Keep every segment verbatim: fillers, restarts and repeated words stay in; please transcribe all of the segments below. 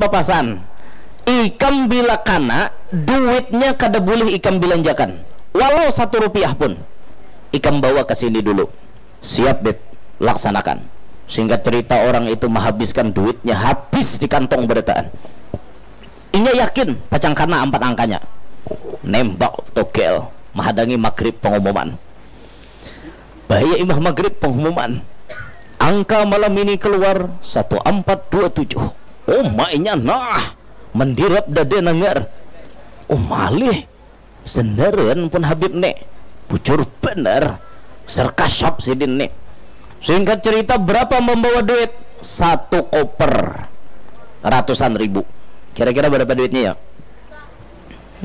Papasan, ikam bila kana, duitnya kada bulih ikam bilanjakan, walau satu rupiah pun. Ikam bawa ke sini dulu. Siap, Beb. Laksanakan. Singkat cerita, orang itu menghabiskan duitnya habis di kantong berataan. Inya yakin pacang kana ampat angkanya. Nembak togel, mahadangi maghrib pengumuman. Bahaya imah maghrib pengumuman. Angka malam ini keluar satu ampat dua tujuh. Umainya nah, mendirap dada nanggar. Umalih, sendaran pun Habib nih. Bujur bener. Serkasap sidin nih. Singkat cerita, berapa membawa duit? Satu koper. Ratusan ribu. Kira-kira berapa duitnya ya?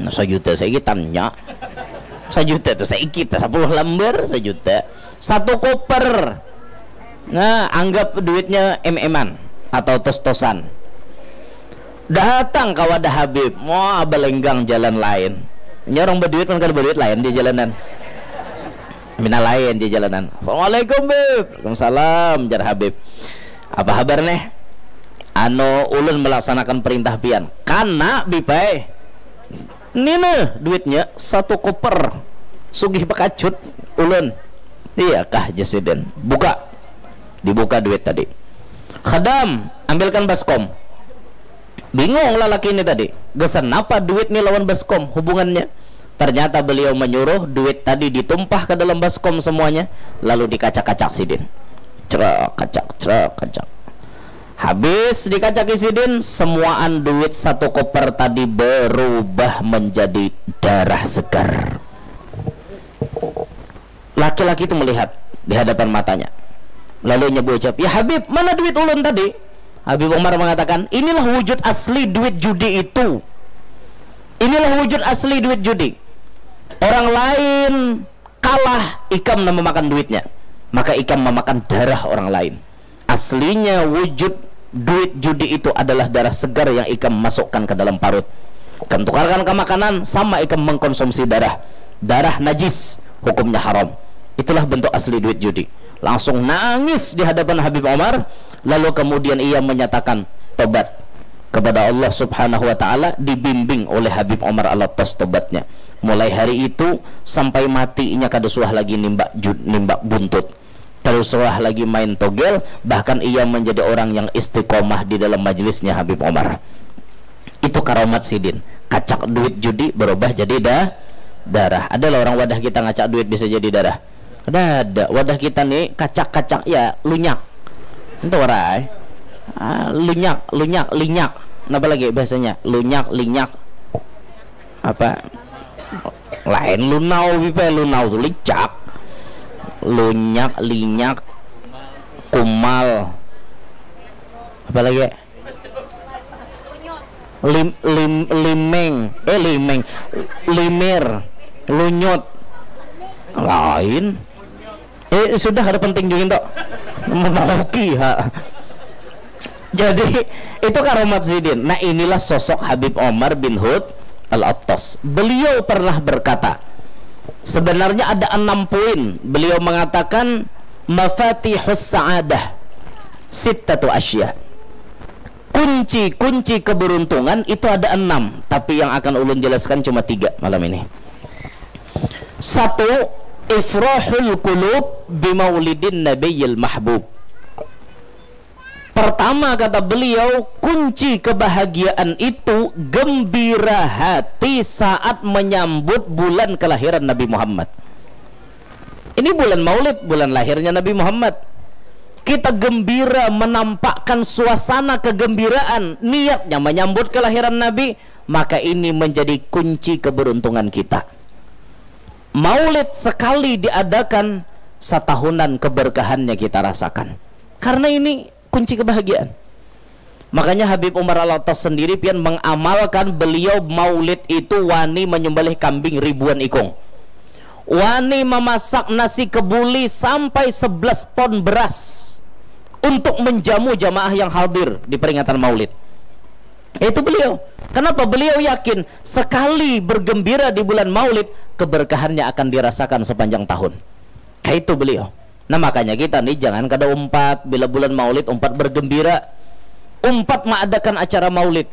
Nah, sajuta saiki tanya. Sajuta tuh saiki, tah, sapuluh lambar sajuta. Satu koper. Nah, anggap duitnya em-eman atau tos-tosan. Datang ka wadah Habib, wah, balenggang jalan lain. Ini orang berduit kan, kalau berduit lain di jalanan. Mina lain di jalanan. "Assalamualaikum, Bib." "Waalaikumsalam," jar Habib. "Apa habar neh?" "Anu, ulun melaksanakan perintah pian." "Kana, Bib ai." "Nina duitnya satu koper. Sugih bakacut ulun." "Iya kah?" jar sidin. "Buka." Dibuka duit tadi. "Khadam, ambilkan baskom." Bingung lalaki ini tadi, gasan napa duit ni lawan baskom hubungannya. Ternyata beliau menyuruh duit tadi ditumpah ke dalam baskom semuanya, lalu dikacak-kacak sidin. Cerak, kacak, cerak, kacak. Habis dikacaki sidin, semuaan duit satu koper tadi berubah menjadi darah segar. Laki-laki itu melihat di hadapan matanya. Lalu inya berucap, "Ya Habib, mana duit ulun tadi?" Habib Umar mengatakan, "Inilah wujud asli duit judi itu. Inilah wujud asli duit judi. Orang lain kalah, ikam nang memakan duitnya. Maka ikam memakan darah orang lain. Aslinya wujud duit judi itu adalah darah segar yang ikam masukkan ke dalam parut. Ikam tukarkan ke makanan, sama ikam mengkonsumsi darah. Darah najis, hukumnya haram. Itulah bentuk asli duit judi." Langsung nangis di hadapan Habib Omar, lalu kemudian ia menyatakan tobat kepada Allah Subhanahu wa Ta'ala, dibimbing oleh Habib Omar Al-Attas tobatnya. Mulai hari itu sampai mati, inya kada suah lagi nimbak ju-, nimbak buntut. Kada suah lagi main togel, bahkan ia menjadi orang yang istiqomah di dalam majlisnya Habib Omar. Itu karomat sidin. Kacak duit judi berubah jadi da-, darah. Ada lah orang wadah kita ngacak duit bisa jadi darah? Kada ada. Wadah kita ni kacak-kacak, ya, lunyak. Itu warai. Ah, lunyak, lunyak, linyak. Napa lagi bahasanya? Lunyak, linyak. Apa? Lain lunau, Bib ai. Lunau tu licak. Lunyak, linyak, kumal. Apa lagi? Lim-, lim-, limeng. Eh, limeng. Limir. Lunyut. Lain. Eh, sudah, kada penting juga tu. Memaoki, ha. Jadi, itu karomat sidin. Nah, inilah sosok Habib Omar bin Hud Al-Attas. Beliau pernah berkata, sebenarnya ada enam poin. Beliau mengatakan, "Mafatihus sa'adah sittatu asya." Kunci-kunci keberuntungan itu ada enam, tapi yang akan ulun jelaskan cuma tiga malam ini. Satu, ifrahul qulub bimaulidin nabiyil mahbub. Pertama, kata beliau, kunci kebahagiaan itu gembira hati saat menyambut bulan kelahiran Nabi Muhammad. Ini bulan Maulid, bulan lahirnya Nabi Muhammad. Kita gembira menampakkan suasana kegembiraan, niatnya menyambut kelahiran Nabi, maka ini menjadi kunci keberuntungan kita. Maulid sekali diadakan, satahunan keberkahannya kita rasakan. Karena ini kunci kebahagiaan. Makanya Habib Umar Al-Attas sendiri pian mengamalkan, beliau maulid itu wani menyembelih kambing ribuan ikung. Wani memasak nasi kebuli sampai sebelas ton beras untuk menjamu jamaah yang hadir di peringatan maulid. Itu beliau. Kenapa? Beliau yakin sekali bergembira di bulan maulid, keberkahannya akan dirasakan sepanjang tahun. Kayak itu beliau. Nah, makanya kita nih jangan kada umpat bila bulan maulid umpat bergembira. umpat maadakan acara maulid.